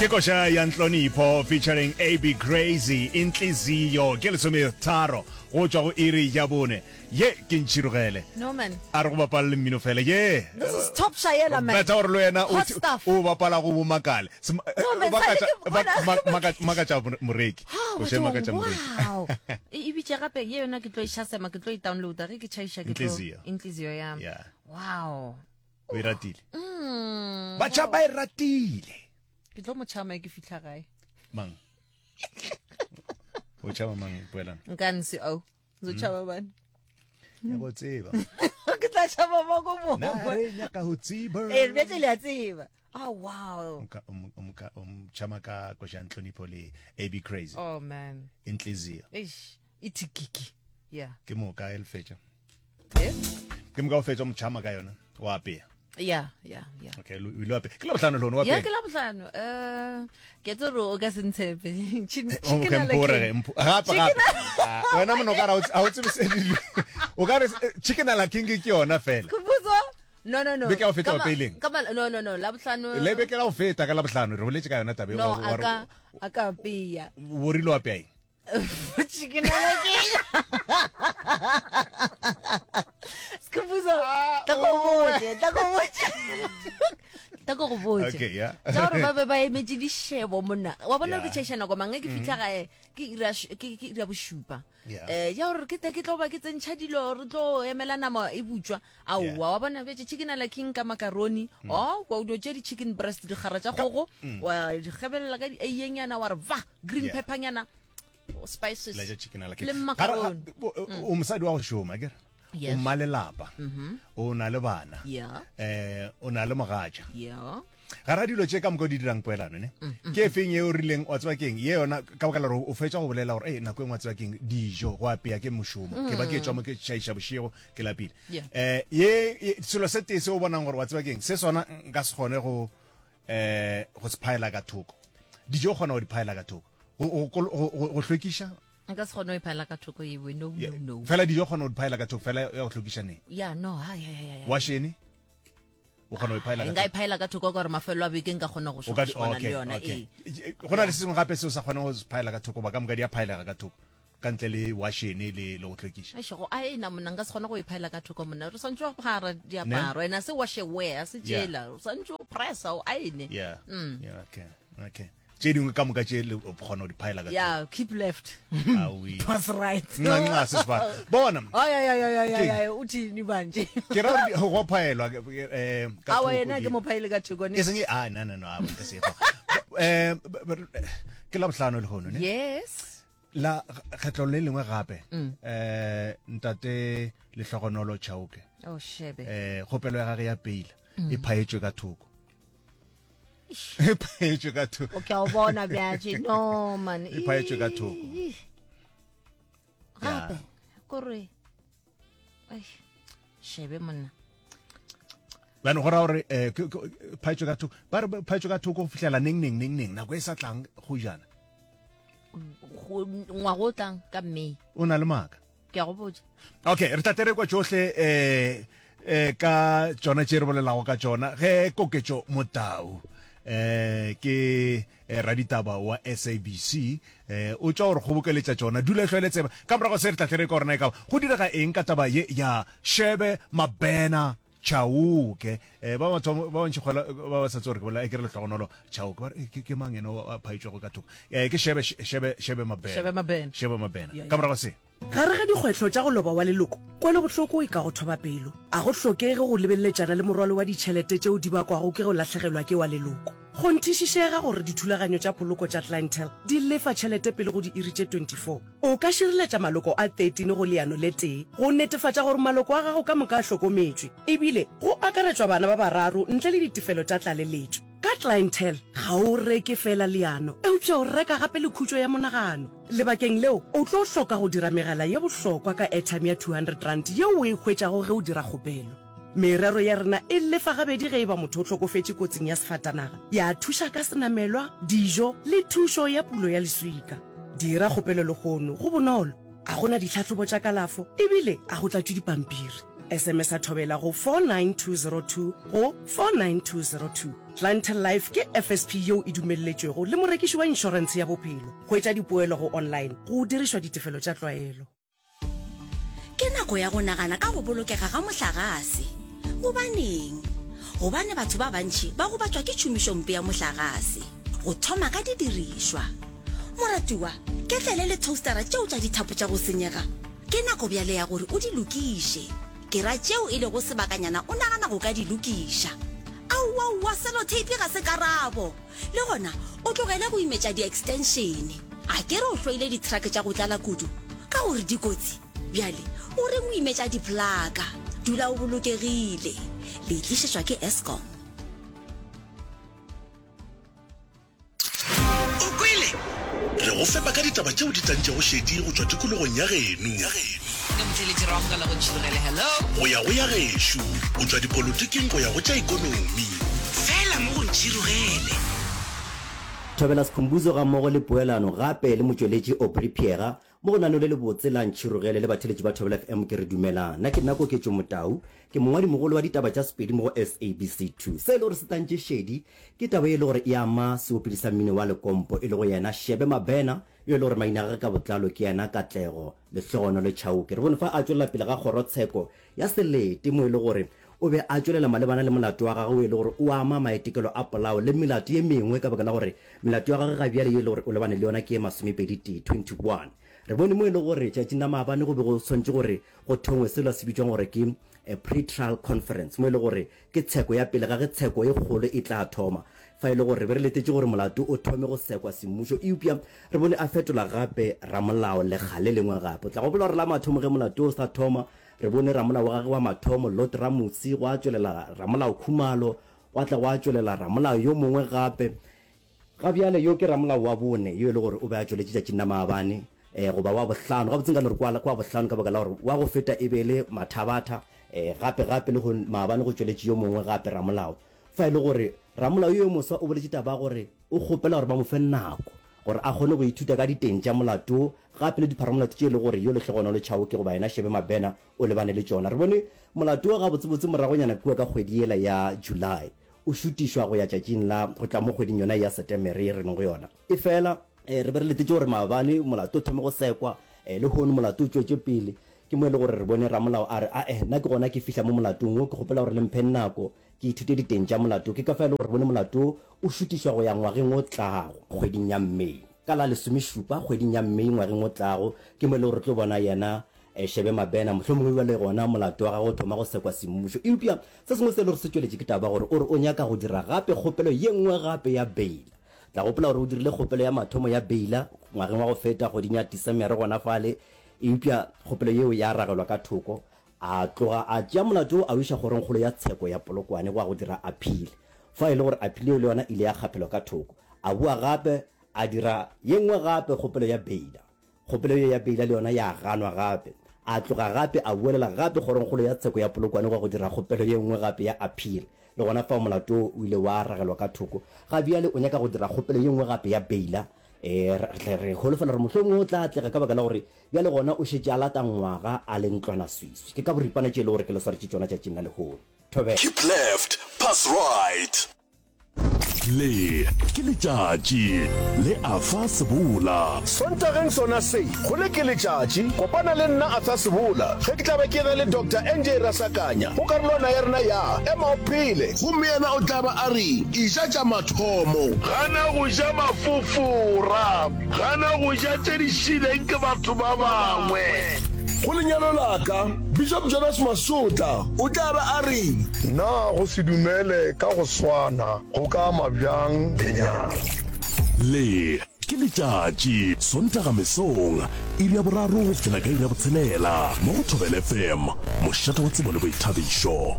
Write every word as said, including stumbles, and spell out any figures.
Ke koša ya Ntlonipho featuring A B Crazy, Intliziyo. Ke lesometharo go tšwa go iri ya bone. Ye ke ntšhirogele. No man. A re go bapala le mmino fela ye. This is top shayela, man. Betha gore le wena o Hot stuff. o bapala go bomakale. No man, sale ke bona. Makatša moreki. Ha, Koša e makatša moreki. Wow. E e bitše gape ye yona, ke tlo e shasema, ke tlo e downloada ge ke tšhaiša, ke tlo Intliziyo. Intliziyo ya. Yeah. Wow. O e ratile. Mm. Batjha ba e ratile. Ke tlo mo tšhama ke fitlha gae. Mang? O tšhaba mang, Poelana? Nka nse o. Zo tšhaba bane. Ya go tseba. Ke tla tšhaba mo go Na mo. re nyaka go tseba. Eh, bjale le a tseba. Oh wow. O ka- o mo- o mo ka- o mo tšhama ka koša ya Ntlonipho le A B Crazy. Oh man. Intliziyo. Eish. Itikiki. Yeah. Ke moka e le fetša. Eh? Ke moka o fetša mo tšhama ka yona. Wa apea. Yeah, yeah, yeah. Okay, o ile wa apea. Ke Labohlano le wa Ya, apea. ke la bohlano. Eh, ke tse gore o ka se ntshepe. Chicken Oh, okay, chicken ala mpore king. ge, mpo- gape gape. Ah, wena mona o ka re ha o tse- ha o tsebe se di- o ka re eh, chicken ala king ke yona fela. Kubuzo? No, no, no. Beke ya go feta Ka ma- wa peileng? Ka ma- no, no, no, la bohlano. Le beke la go feta ka Labohlano re boletse ka yona tabe. No, a ka a ka apeya. O rile wa apea eng? Chicken ala king. Skhumbuzo, tla go botse, tla go botse. Tla go botse. Okay, yeah. Tsa gore ba be ba emetse dishebo monna. Wa bona Yeah. ke tšhaiša nako mang ge ke fitlha gae ke ira sh- ke ke ira bošupa. Yeah. Eh, ya gore ke tle ke tlo ba ke tsentšha dilo, re tlo emela nama e butswa. Yeah. Aowa, wa bona bjetse chicken ala king ka macaroni. Oh, wa o dio tše di chicken breast, dikgara tša kgogo, wa di gebelela ka di eienyana, wa re va green Yeah. pepper nyana, spices. La ja chicken ala king. Le Gare- macaroni. o- o o mosadi wa go šoma akere? O Yes. mmalelapa. O na le bana. Yeah. Eh, o na le mogatša. Yeah. Gara dilo tše ka moka o di dirang, Poelano, ne ke e feng ye o rileng wa tseba keng ye yona, ka baka la gore o fetša go bolela gore e nako e nngwe wa tseba keng, dijo go apea ke mošomo, ke ba ke tswa mo ke tšhaiša bošego ke lapile, Yeah. eh ye ye- selo se tee se o bonang gore wa tseba keng se sona nka se kgone go eh go se phaela ka thoko? Dijo o kgona go di phaela ka thoko, go- go go- go go hlwekiša? Nka se kgone go e phaela ka thoko ewe, no, no, no. Fela dijo o kgona go di phaela ka thoko, fela ya go hlwekiša ne? Yeah, no, ha ya ya ya ya. Washene o kgona go e phaela ka Nka e thoko? phaela ka thoko ka gore mafelo a beke nka kgona go O ka di- šogana le okay, yona. okay. Ee. Go na le se sengwe gape se o sa kgoneng go se phaela ka thoko, ba ka moka di a phaelega ka thoko ka ntle le washene le le go hlwekiša? Eish, go a ena monna, nka se kgone go e phaela ka thoko monna. Re swantse go phara diaparo, ena se washe wear se Yeah. tšela, o swantse o pressa, o aene. Yeah, yeah, okay okay Tše dingwe ka moka tše le o kgona go di phaela ka thoko? Yeah, keep left. Aowi. Pass right. Nxa nxa se sebaka bona. Ay ay ay ay Keng? ay ay, uthini manje? Ke ra gore go phaelwa eh ka Awa, thoko yena di- ke mo phaele ka thoko ne. E seng ah no no no a nka se go eh b- b- ke la bohlano le hono ne? Yes. La kgetlo le lengwe gape eh ntate Lehlogonolo Chauke. Oh, shebe. Eh, kgopelo ya gage ya peila e phaetšwe ka thoko, e phaetšwe ka thoko. O ke a o bona bjatše, no man. E phaetšwe ka thoko. Ih. Gape kore ai, shebe monna. Bjano go ra gore eh, ke- ke- phaetšwe ka thoko, ba re phaetšwe ka thoko go fihlela neng neng neng neng, nako e sa tlang go jana? Go- ngwago o tlang ka May. O na le maaka. Ke a go botša. Okay, re tla tere kwa tšohle eh eh ka tšona tše re bolelago ka tšona ge Koketšo Motau eh ke eh, raditaba wa S A B C eh o tšwa gore kgobokeletša tšona. Dula e hlwele tseba ka morago se re tla tere ka gorena e ka go direga eng ka taba ye ya Shebe Mabena Chauke. eh ba batho ba bantši kgola ba ba sa tsore ke bolela e ke re Lehlogonolo Chauke, ba re, eh, ke ke mang ena o a phaetšwego ka thoko? eh ke Shebe Shebe Shebe Mabena. Shebe Mabena. Shebe Mabena. Yeah, Ka morago se. Gare ga dikgwetlho tša go loba wa leloko, kwelobohloko e ka go thoba pelo. A go hlokege go lebeleletšana le morwalo wa ditšhelete tšeo di bakwago ke go lahlegelwa ke wa leloko. Kgonthišišega gore dithulaganyo tša poloko tša Clientele di lefa tšhelete pele go diiri tše twenty-four. O ka šireletša maloko a thirteen go leano le tee go netefatša gore maloko a gago ka moka a hlokometšwe, ebile go akaretšwa bana ba bararo ntle le ditefelo tša tlaleletšo. Ka Clientele ga o reke fela leano, eupša o reka gape le khutšo ya monagano. Lebakeng leo o tlo hloka go dira megala ye bohlokwa ka airtime ya two hundred rand yeo o e hwetšago ge o dira kgopelo. Merero ya rena e lefa gabedi ge e ba motho o hlokofetše kotsing ya sefatanaga, ya thuša ka senamelwa, dijo le thušo ya pulo ya leswika. Dira kgopelo lehono, go bonolo, a gona ditlhahlobo tša kalafo ebile a go tlatšwe dipampiri. S M S a Thobela go four nine two zero two go four nine two zero two. Clientele Life ke F S P yeo e dumelletšwego le morekiši wa inšorentshe ya bophelo. Hwetša dipoelo go online go dirišwa ditefelo tša tlwaelo. Ke nako ya go nagana ka go bolokega ga mohlagase. Gobaneng? Gobane batho ba bantši ba gobatšwa ke tšhomišompe ya mohlagase, go thoma ka didirišwa. Moratiwa, ketlele le toastera tšeo tša dithapo tša go senyega, ke nako bjale ya gore o di lokiše. Ke ra tšeo e lego sebakanyana o nagana go ka di lokiša. Aowaowa, sellotape ga se karabo. Le gona o tlogele go imetša di-extension. A ke re o hloile di-truck tša go tlala kudu ka gore di kotsi? Bjale o reng o imetša diplaka? Dula o bolokegile. Le e tlišetšwa ke Eskom. O kwele? Re go fepa ka ditaba tšeo di tantšego šedi go tšwa tikologong ya geno. Ke motheeletši re amogela go Ntšhirogele. Hello. Go ya go ya gešo, go tšwa dipolotiking go ya go tša ekonomi. Fela mo go Ntšhirogele. Thobela Skhumbuzo gammogo le poelano gape le motšweletši Aubrey Phiyega mo go lenaneo le lebotse la Ntšhirogele le batheeletši ba Thobela F M ke re dumelang. Nna ke nna Koketšo Motau, ke mongwadimogolo wa ditaba tša Sepedi mo go S A B C two. Se e le gore se tantše šedi ke taba ye e le gore e ama seopedi sa mmino wa lekompo e lego yena Shebe Mabena yo e le gore maina a gagwe ka botlalo ke yena Katlego Lehlogonolo Chauke. Re bone fa a tšwelela pele ga kgorotsheko ya selete mo e le gore o be a tšwelela malebana le molato wa gagwe o e le gore o ama maitekelo a polao le melato ye mengwe ka baka la gore melato ya gagwe ga bjale ye e le gore o lebane le yona ke ye masomepedi tee, twenty one. Re bone mo e le gore tšatšing la maabane go be go swanetše gore go thongwe selo se bitšwang gore ke pre-trial conference mo e le gore ke tsheko ya pele ga ge tsheko e kgolo e tla thoma. Fa e le gore re be re letetše gore molato o thome go sekwa semmušo, eupša re bone a fetola gape ramolao lekga le lengwe gape. O tla gopola gore la mathomo ge molato o sa thoma, re bone ramolao wa gagwe wa mathomo Lot Ramusi, gwa tšwelela ramolao Khumalo, gwa tla gwa tšwelela ramolao yo mongwe gape. Ga bjale yo ke ramolao wa bone yo e le gore o be a tšweletše tšatšing la maabane, eh, goba wa bohlano. Gabotse nka no re ke wa, ke wa bohlano ka baka la gore wa go feta e be e le Mathabatha, eh, gape gape le go maabane go tšweletše yo mongwe gape ramolao. Fa e le gore ramolao yo yo moswa o boletše taba ya gore o kgopela gore ba mo fe nako gore a kgone go ithuta ka diteng tša molato gape le dipharamolato tše e le gore yo Lehlogonolo Chauke goba yena Shebe Mabena o lebane le tšona. Re bone molato wo gabotsebotse moragonyana kua ka kgwedi yela ya July o šutišwa go ya tšatšing la go tla mo kgweding yona ya Setemere ye re leng go yona. Efela re be re letetše gore maabane molato o thome go sekwa, lehono molato o tšwetše pele. Ke mo e le gore re bone ramolao a re, Ae, nna ke gona ke fihla mo molatong wo, ke kgopela gore le mphe nako ke ithute diteng tša molato. Ke ka fa e le gore re bone molato wo o šutišwa go ya ngwageng o tlago, kgweding ya May. Ka la lesomešupa kgweding ya May ngwageng o tlago, ke mo e le gore re tlo bona yena Shebe Mabena, mohlomongwe bjale gona molato wa gagwe o thoma go sekwa semmušo. Eupša se sengwe se e le gore se tšweletše ke taba ya gore o re o nyaka go dira gape kgopelo ye nngwe gape ya beila. Tla gopola gore o dirile kgopelo ya mathomo ya beila ngwageng wa go feta kgweding ya Desemere gona fale, eupša kgopelo yeo ya ragelwa ka thoko. A tloga a tšea molato wo a o iša kgorongkgolo ya tsheko ya Polokwane go ya go dira appeal. Fa e le gore appeal yeo le yona ile ya kgaphelwa ka thoko. A boa gape a dira ye nngwe gape kgopelo ya beila. Kgopelo ye ya beila le yona ya ganwa gape. A tloga gape a boelela gape kgorongkgolo ya tsheko ya Polokwane go ya go dira kgopelo ye nngwe gape ya appeal. Le gona fao molato wo o ile wa ragelwa ka thoko. Ga bjale o nyaka go dira kgopelo ye nngwe gape ya beila. E, re tle re holofela gore mohlomongwe o tla atlega ka baka la gore bjale gona o šetše a lata ngwaga a le ntlwanaswiswi. Ke ka boripana tše e le gore ke le swaretše tšona tšatšing la lehono. Thobela. Keep left, pass right. Le ke letšatši le Arthur Sebola. Sontageng sona se, go le ke letšatši, kopana le nna Arthur Sebola ge ke tla be ke ena le Doctor N J Rasakanya go karolwana ya rena ya Ema o Phele. Gomme yena o tla ba a re, Eja tša mathomo. Gana go ja mafofora. Gana go ja tše di šileng ke batho ba bangwe. Go lenyalo la ka, Bishop Jonas Masotla o tla ba a re. Na go se dumele ka go swana go ka ama bjang lenyalo? Le ke letšatši, Sontaga mesong, iri ya boraro go fihlela ka iri ya botshelela, mo go Thobela F M, mošate wa tsebo le boithabišo.